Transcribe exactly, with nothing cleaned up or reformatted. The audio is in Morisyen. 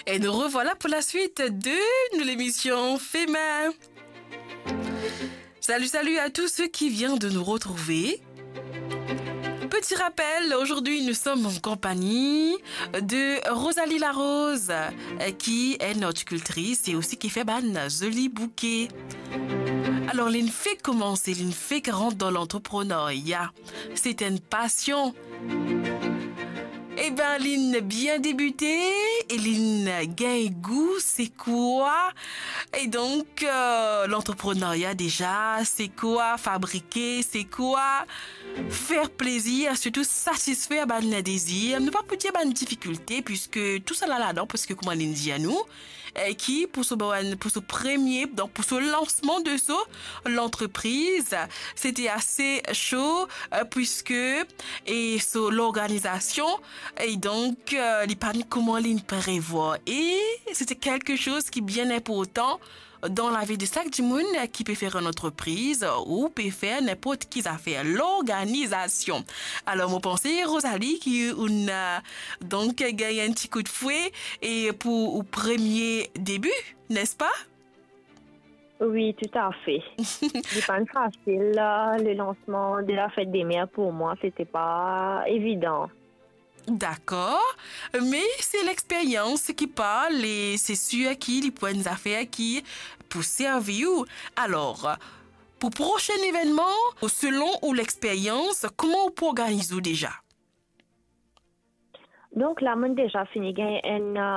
Et nous revoilà pour la suite de l'émission Fema. Salut, salut à tous ceux qui viennent de nous retrouver. Petit rappel, aujourd'hui nous sommes en compagnie de Rosalie Larose, euh, qui est notre cultrice et aussi qui fait bann zoli bouke. Alors, linn fek koumans, linn fek rant dan lantreprenarya. Se enn pasion. Eben, linn bien debite e linn gagn gou se kwa. E donk, euh, lantreprenarya deza, se kwa fabrike, se kwa fer plezir, sirtou satisfer bann dezir. Nou pa pou dir bann difikilte, piske tou sa la ladan, paske kouma linn dir nou, eh, ki pou so, pou so premie, donk pou so lansman de so lantrepriz, sete ase so, eh, piske, e so lorganizasion, e donk, eh, li pa'nn kouma linn prevwar. E sete kelke soz ki bien inportan dan lavi de sak dimoun ki pe fer enn antrepriz ou pe fer ninport ki zafer, lorganizasion. Alor, mo panse, Rosalie, ki ou'nn, eh, donk, gagn enn ti koudfwe e pou ou premie debi, n'est-ce pas? Oui, tout à fait. Li pa'nn fasil, euh, le lansman de la fèt de mer pou mwa, sete pa evidan. Dakor, me se lexperyans ki parl e se sir ki li pou enn zafer ki pou servi ou. Alor, pou prosin evennman, selon ou lexperyans, kouma ou pou organiz ou deza? Donk la, mo'nn deza fini gagn enn, euh,